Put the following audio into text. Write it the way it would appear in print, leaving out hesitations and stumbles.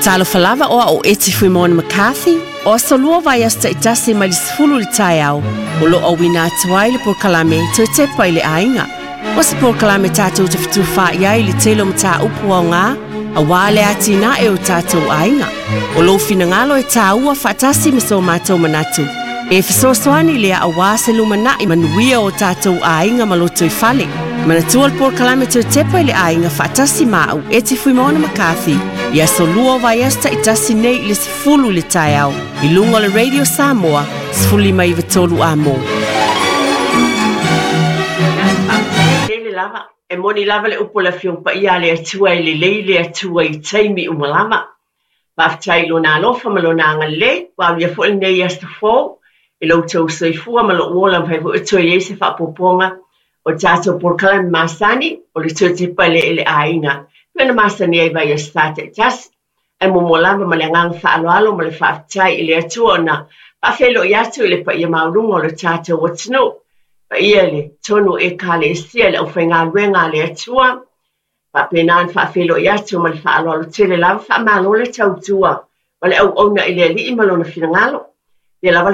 Talofa lava o au o Eti Fuimaono McCarthy, o aso lua o vaiaso taitasi mai le 10 i le taeao, o lo o auina atu ai le polokalame Toe Tepa i le Aiga. O se polokalame tatou te fetufaai ai i le tele o mataupu aoga aua le atinae o tatou aiga. O lou finagalo e taua faatasi ma so matou manatu e fesoasoani lea aua se lumanai manuia o tatou aiga ma lotoifale. Manatua le polokalame Toe Tepa i le Aiga faatasi ma au Eti Fuimaono McCarthy i aso lua o vaiaso taitasi nei i le 10 i le taeao i luga o le Radio Samoa 1593 Amo. Tele lava, e moni lava le upu a le Afioga Paia a le Atua e lelei le Atua i taimi uma lava. Faafetai i Lona alofa ma Lona agalelei, ua aulia foi lenei aso fou i lo outou soifua ma lou ola, mafai foi ona toe i ai se faaopoopoga o le tatou polokalame masani o le Toe Tepa i le Aiga, e pei ona masani ai i vaiaso sa taitasi. Ae muamua lava ma le agaga faaaloalo ma le faafetai i le Atua ona faafeiloai atu i le paia maualuga o le tatou atunuu, paia i le tonu o Ekalesia i le aufaigaluega a le Atua, faapena ona faafeiloai atu ma le faaaloalo tele lava, faamalo le tautua ma le auauna i le Alii ma Lona finagalo. Ia lava le